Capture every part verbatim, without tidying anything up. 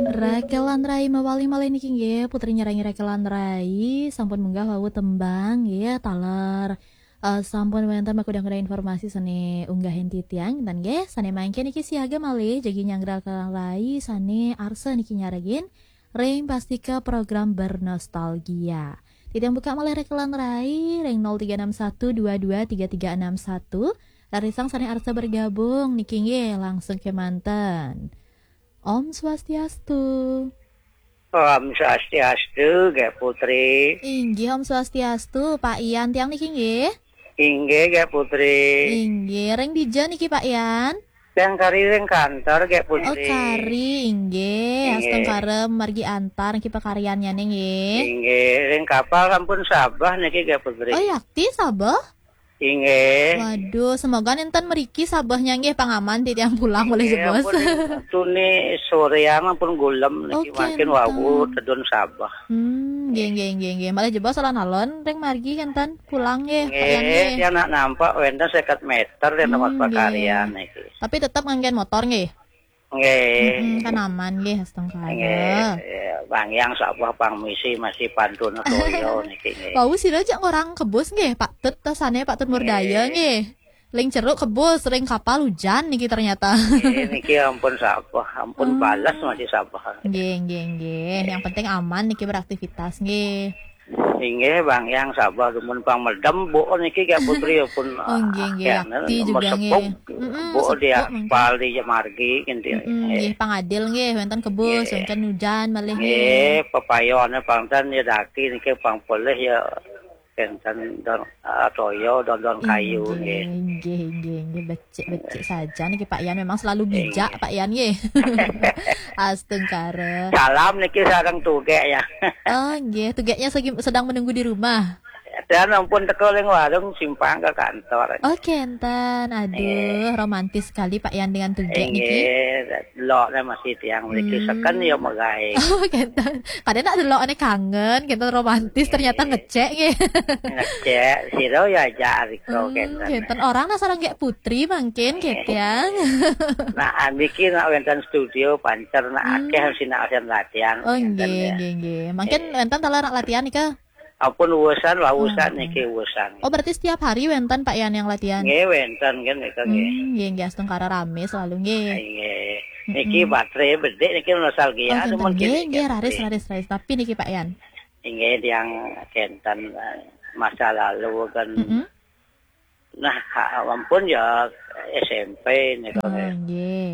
Rakelan Rai mawali malih niki nggih, Putri nyerangi Rakelan Rai, sampun munggah wau tembang nggih, taler. Eh, sampun wenten makudang-kudang informasi sane unggahin titiang, kinten nggih, sane mangke niki siaga malih jagi nyanggra Rakelan Rai sane arsa niki nyarengin ring Pastika program bernostalgia. Titiang buka malih Rakelan Rai ring nol tiga enam satu dua dua tiga tiga enam satu. Rarisang sane arsa bergabung niki nggih, langsung kemanten. Om Swastiastu. Om Swastiastu, Gek Putri. Inggih, Om Swastiastu, Pak Ian tiang niki nggih. Inggih, Gek Putri. Inggih, ring dija niki Pak Ian? Tiang kari ring kantor, Gek Putri. Oh, kari, inggih. Inggih. Astungkara margi antar niki pakaryannyane nggih. Inggih, ring kapal sampun sabeh niki, Gek Putri. Oh, yakti sabeh? Inggih. Waduh, semoga nenten mriki sabehnya nggih, pang aman titiang pulang malih jebos. Inggih, ampun, tuni sorean ampun gulem niki, oke, mangkin wau enten tedun sabeh. Hmm, nggih, nggih, nggih, nggih. Malih jebos alon-alon ring margi kenten pulang nggih, Pak Ian nggih, nggih. Tiang nak nampak wenten seket meter ring tempat, hmm, nggih, pakaryan niki. Tapi tetep nganggen motor nggih? Nggih. Mm-mm, kan aman nggih, astungkara. Nggih, ya, Bang Yang sabeh pang misi masih pantun toya niki nggih. Wau sira jak ngorang kebus nggih, Pak Tut tasane Pak Tut Murdaya nggih. Nggih. Ling ceruk kebus, ring kapal hujan niki ternyata. Nggih, niki ampun sabeh, ampun, hmm, balas masih sabeh. Nggih, nggih, nggih. Yang penting aman niki beraktivitas nggih. Inggih, Bang Yang sabeh dumun pang medem, Bu, niki Gek Putri pun, oh, nggih, nggih, akeh, yakti juga mesepuk, nggih. Mm-mm, Bu, di mesepuk mangke. Aspal di margi, kinten. Mm-mm, nggih, pang adil nggih, wenten kebus, nggih, wenten hujan malih nggih. Nggih, pepayone pang ten ya daki niki pang pelih ya kenten don, ah, toya, don-don kayu nggih, nggih. Inggih, inggih, inggih, becik-becik saja niki Pak Yan, memang selalu bijak, inggih, Pak Yan nggih. Astungkara. Salam niki sareng tugek ya. Oh, nggih, tugeknya segi-, sedang menunggu di rumah. Dan ampun teka ring warung simpang ke kantor. Oh, kenten. Aduh, eh, romantis sekali Pak Yan dengan tugek niki. Inggih, delokne masih tiang mriki, hmm, seken ya megai. Oh, kenten. Kadang nak delokne kangen, kenten romantis, eh, ternyata ngecek nggih. Ngecek, sira ya ajak riko, hmm, kenten. Kenten. Orang nak sareng Gek Putri mangkin, eh, ketiang. Nah, niki nak wenten studio pancer nak, hmm, akeh sing nak wenten latihan, oh, kenten nggih, ya. Nggih, nggih. Mangkin, eh, wenten taler nak latihan nika? Ampun uwesan, wausan, hmm, niki uwesan. Oh, berarti setiap hari wenten Pak Yan yang latihan? Nggih, wenten kan nika nggih. Hmm, nggih, nggih, astungkara rame selalu nggih. Nggih. Niki, mm-mm, baterai bedik niki nostalgia, oh, kenten, mungkin nggih, niki nggih, raris, baterai, raris, raris. Tapi niki Pak Yan? Inggih, tiang kenten, eh, masa lalu kan. Mm-mm. Nah, ha, ampun ya S M P nika, oh, nggih. Nggih.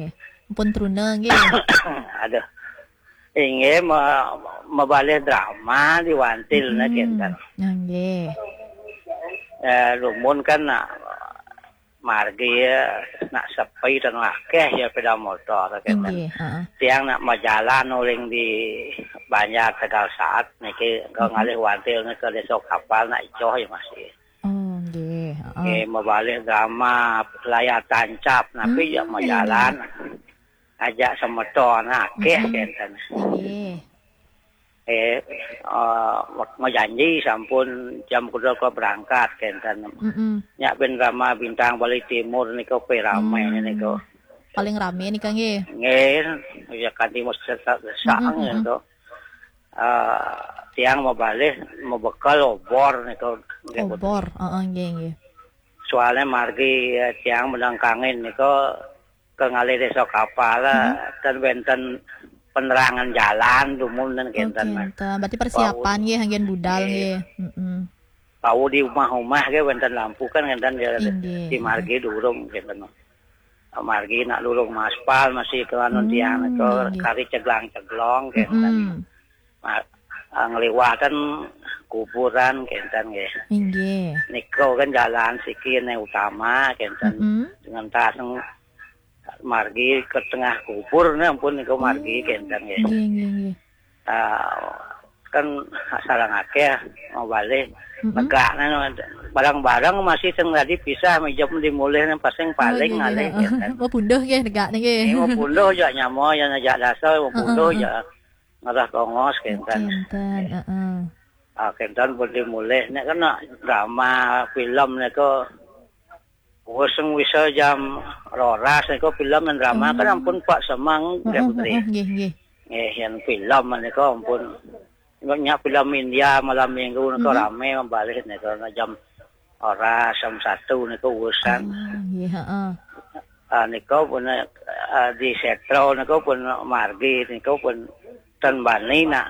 Ampun truna nggih. Aduh. Inggih, me-, mebalih drama di wantil, mm-mm, nah, kenten. Nah, nggih. Eh, dumun kan nak margi ya, nak sepi dan akeh ya sepeda motor, kenten. Inggih, heeh. Tiang nak majalan uling di Banjar Tegal Saat niki, ke, mm-mm, ngalih wantil niki ke Desa Kapal nak icoh ya masih. Oh, nggih, heeh. Nggih, mebalih drama layar tancap, napi ya, hmm, majalan. Ajak semeton, akeh, hmm, kenten. Nggih. Eh, eh, majanji sampun jam kedua kula berangkat, kenten. Mm-mm. Nyak ben drama Bintang Bali Timur niku pe rame, hmm, niku. Paling rame nika nggih. Nggih, ya kanti mesti desak, desak, mm-mm, nggih, mm-mm, niku. Eh, tiang mebalih, mebekel obor niku, nggih, Putri. Obor, heeh, nggih, nggih. Soalnya margi, eh, tiang menang kangin niku ke ngalih Desa Kapal, hmm, ten wenten penerangan jalan dumun ten, oh, kenten, Mas. Kenten. Berarti persiapan, wau, nggih, anggen budal, nggih, nggih. Mm-mm. Wau di umah-umah nggih wenten lampu kan kenten ya, inggih, di margi durung kenten. Margi nak durung maspal masih ke anu, hmm, tiang ke, inggih, kari ceglang-ceglong kenten. Mm-mm. Ma-, ah, ngliwatan kuburan kenten nggih. Inggih. Nika kan jalan siki ne utama kenten. Mm-mm. Dengan tas margi ke tengah kubur ne ampun nika margi, oh, kenten nggih. Nggih, nggih, nggih. Ah, kan sareng akeh mau balik. Mm-mm. Negakne barang-barang masih sing tadi pisah mejem dimulih ne pasing paling, oh, nggih, ngalih, nggih, heeh, kenten. Mau punduh nggih negakne nggih. Nggih, mau punduh jak nyama ya jak dasar mau, heeh, punduh, heeh, jak ngerah tongos kenten. Kenten, heeh. Ah, kenten pun dimulih. Nek kena drama film nika weseng wisa jam rolas nika film dan drama kan, oh, ampun Pak Semang, heeh, Gek Putri. Heeh, nggih, nggih. Nggih, yen film menika ampun. Nek film India malam minggu nika Mhm. rame mabalih nika jam ora jam satu nika urusan. Oh, nggih, heeh. Ah, nika pun, ah, di Setro nika pun margi nika pun ten bani nak,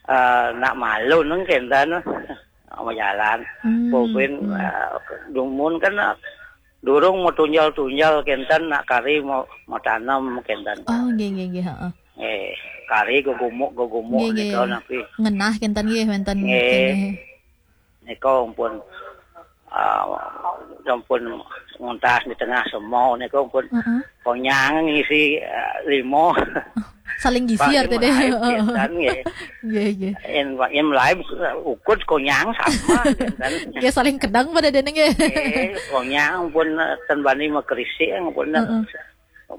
ah, nak malu neng kenten majalan. Hmm, Pupin, hmm. ah, dumun kan, ah, durung mau tunjal-tunjal kenten nak kari mau, mau tanam kenten. Oh, nggih, nggih, nggih, heeh. Eh, kari gegumuk-gegumuk Nggih, nggih. nika napi. Ngenah kenten nggih wenten Nggih. kene. Nika ampun, ah, ampun ngentas di tengah semua nika ampun Heeh. konyang ngisi, ah, limo. Saling gisi Bang artinya. Im laib kenten nggih. Nggih, nggih. Im, im laib ukut konyang sama kenten. Nggih, saling kedang pada dene nggih. Eh, konyang pun, eh, ten bani mau kerisik pun Heeh.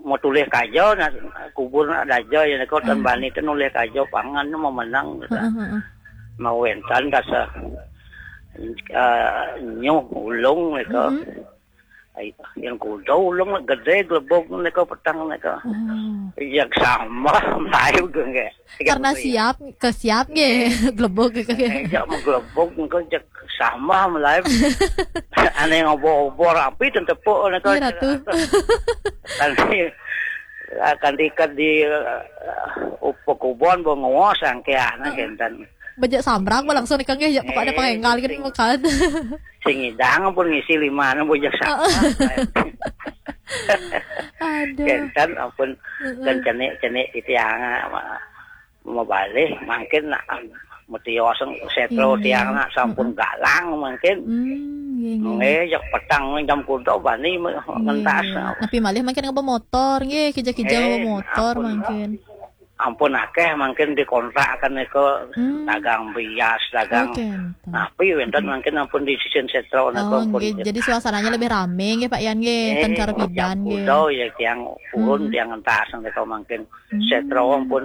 mau tulis kaja nak kubur nak daja ya nika ten Ayo. bani ten nulis kaja pangan mau menang gitu. Heeh, heeh. Mau wenten kasa, eh, nyuh ulung nika. Mm-mm. Ai, yang kuda ulung gede gelebok nika petang nika. Oh. Yang sama lain ke nggih. Karena siap, ke siap nggih. Gelebok gitu nggih. Eh, jak mau gelebok nika jak sama lain. Ane ngobo-obo rapi ten tepuk nika. Iya, Ratu. Kan, kan diikat di, eh, upo kubon bo ngos angke ana kenten. Bejak sambrang mah langsung nika nggih, ya pokoknya Eh, pengenggal kan sing- makan. Sing idang pun ngisi lima anu bujak sama. Aduh. Kenten ampun Heeh. dan cenik-cenik titiang, ah, ma-, mau balik mungkin nak, ah, mutios Setro Nggih. tiang nak sampun Heeh. galang mungkin. Hmm, nggih, nggih. Nggih, jak petang jam kuda bani me-, Nggih, ngentas. nggih. Tapi malih mungkin ngaba motor nggih, kija-kija ngaba Eh, motor ampun. mungkin. Ampun akeh mungkin dikontrakan nika Hmm. dagang bias, dagang Oke, enten. napi wenten mungkin ampun di sisin Setro nika Oh, ampun nggih. Jadi suasananya lebih rame nggih Pak Yan nggih, Eh, ten cara tiap pidan nggih. kuda ya tiang purun Hmm. tiang entas nika mungkin Hmm. Setro ampun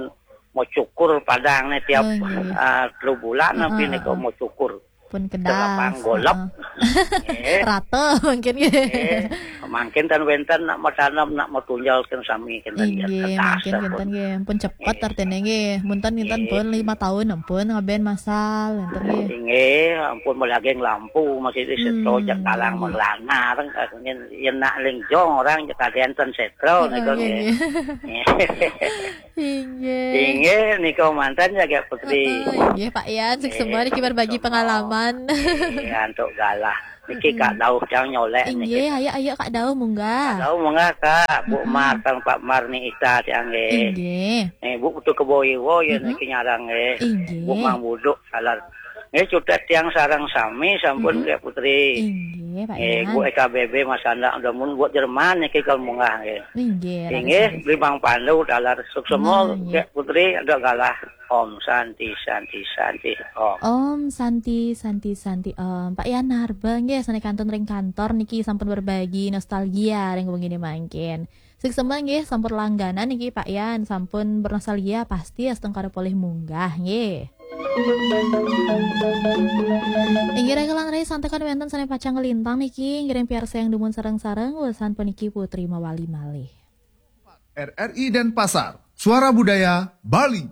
mau cukur padang nih tiap, Oh, nggih. ah, telu bulan Oh, napi heeh, nika heeh. mau cukur. Pun Tengah kedas. panggolep. Heeh. Eh. Rata mungkin nggih. Eh, mungkin ten wenten nak mau tanam, nak mau tunjal kan sami kenten ya, Inggih, kedas mungkin ten kenten pun. nggih. Ampun cepet Eh. artinya nggih. Munten nenten Eh. pun lima tahun ampun ngaben masal nenten nggih. Inggih, ampun melageng lampu masih di Setro Hmm, jak talang nggih. Merlana, kan katanya yen nak ling jong orang jak kaden ten Setro Heeh, nika nggih, nggih. nggih. Inggih. Inggih, nika mantan ya, Kak Putri. Heeh, inggih, Pak Yan, sukses Inggih, niki berbagi sukses. pengalaman. Inggih, antuk galah. Niki Mm-mm. Kak Dauh tiang nyolek niki. Inggih, ayo, ayo, Kak Dauh, munggah. Kak Dauh, munggah, Kak. Bu Mm-mm. Mar, Kang Pak Mar ni Ita tiang nggih. Inggih. Eh, Bu Putu Kebo Iwo ya Mm-mm. niki nyarang nggih. Inggih. Bu Mang Buduk, salah. Nggih, cutet tiang sareng sami, sampun, Mm-mm. Kak Putri. Inggih, Pak Eh, Yan. Bu E K B B, Mas Andak, udah mun buat Jerman niki kalau munggah nggih. Inggih, Raden Inggih, Sarif. Beli Bang Pandu, talar suksema, Nah, inggih. Kak Putri, ada galah. Om Santi, Santi, Santi, Om. Om Santi, Santi, Santi, Om. Pak Yan Narba, nggih, sané kantun ring kantor niki sampun berbagi nostalgia ring wengi mangkin. Suksema nggih, sampun langganan niki Pak Yan, sampun bernostalgia, pasti astungkara polih munggah nggih. Inggih, Raka Langrai, santukan wénten sané pacang nglintang niki, ngiring piarsa ing dumun sareng-sareng, wesan puniki Putri mawali malih. R R I Denpasar, Suara Budaya Bali.